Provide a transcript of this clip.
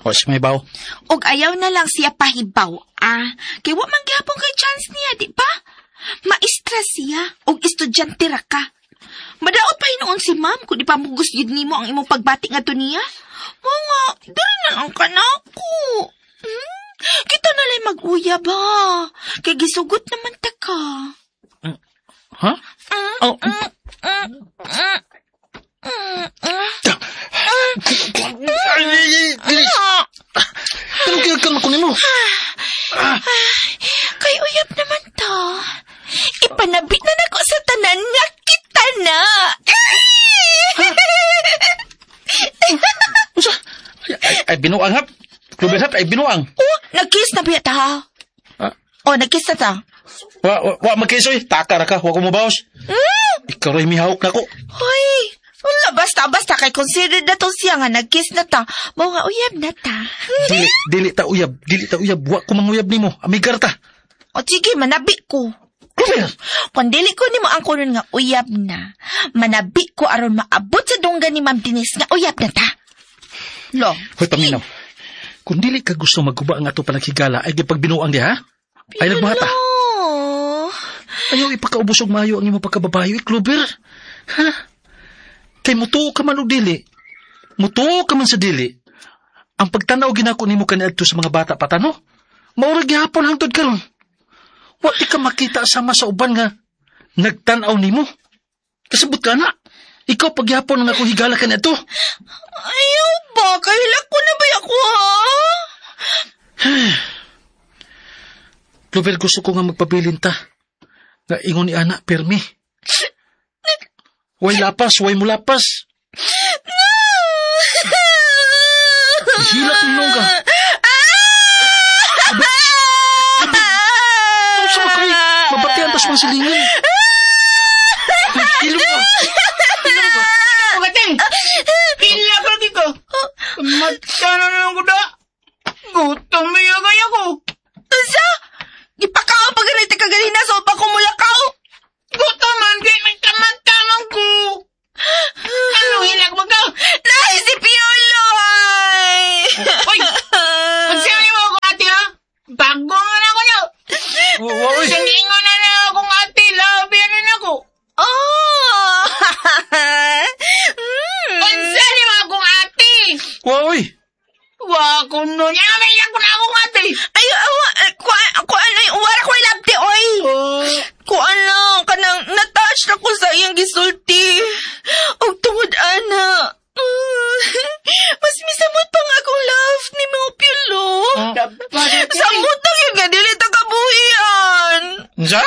Wa siya mahibaw. Og ayaw na lang siya pahibaw, ah. Kay wa man gihapon kay chance niya, di ba? Maestra siya, og estudyante ra ka. Madaot pa hinuon si ma'am kung di pa mugos yun nimo ang imong pagbati nga to niya. Mao nga, diri na lang ka na ako. Kita na lang mag-uyab, ha. Kay gisugot naman ta ka. Ha? Oh. Ay, Anong ginagkan ko nimo? Kay uyab naman to. Ipanabit na nako sa tanan nga kita na. Unsa? Ay, binuang hap. Kluber hap, ay binuang. Oh, nag-kiss na biya ta. Ah. Oh, nag-kiss na ta. Wa magkisoy. Taka ra ka, wa ko mobaos. Ikaw ray mihawok nako. Hoy, wala, basta kay consider na to siya nga nag-kiss na ta. Mao nga uyab na ta. Dili ta uyab, dili ta uyab, wa ko manguyab nimo. Amigar ta. O sige, manabi ko. Kluber. Kung dili ko nimo ang kunon nga uyab na, manabi ko aron maabot sa dunggan ni Ma'am Denise nga uyab na ta. Lo. Hoy, paminaw. Kung dili ka gusto magguba ang ato panaghigala, ay di pagbinuang diha, ha? Ay nagbuhata. Lo. Ayaw ipakaubos og maayo ang imong pagkababayo, Kluber. Ha? Kay mutuo ka man og dili. Mutuo ka man sa dili. Ang pagtanaw ginako nimo kaniadto sa mga bata patano, mao ra gihapon hangtod karon. Wa di ka makita sama sa uban nga nagtan-aw nimo. Kasabot ka na. Ikaw pagyapon ang akong higala kaniadto. Ayaw ba? Kahilak ko na ba ako, ha? Kluber, gusto ko nga magpabilin ta. Nga ingon ni ana, permi. Way lapas, way mulapas. Hilak ninong ka. Ano sa mga mabatian tas mga silingan. Ilong ka. Ilong ka. Magating! Pila ka lagi ko. Mata na lang ko da. Gutom niya kaya ko. Unsa? Ipakaw pa ganit ka ganina so pa kumulakaw. Gutom man kay may kamata man ko. Ano hilak mo ka? Nay, si Piolo ay. Uy! Unsa mo ako ate ha? Bago man ako na. Uy! Singingon na na akong ate, labi na ako. Oh! Unsa ni mo akong ate? Uy! Wa ko no niya, may ko na akong ate. Ay, ku ano, wala ko ilabti, oy. Ku ano, kanang natouch na ko sa iyang gisulti. Og tungod ana. Mas misamot pa nga akong love ni Mo Piolo. Samot na yun nga, dili ta kabuhian. Unsa?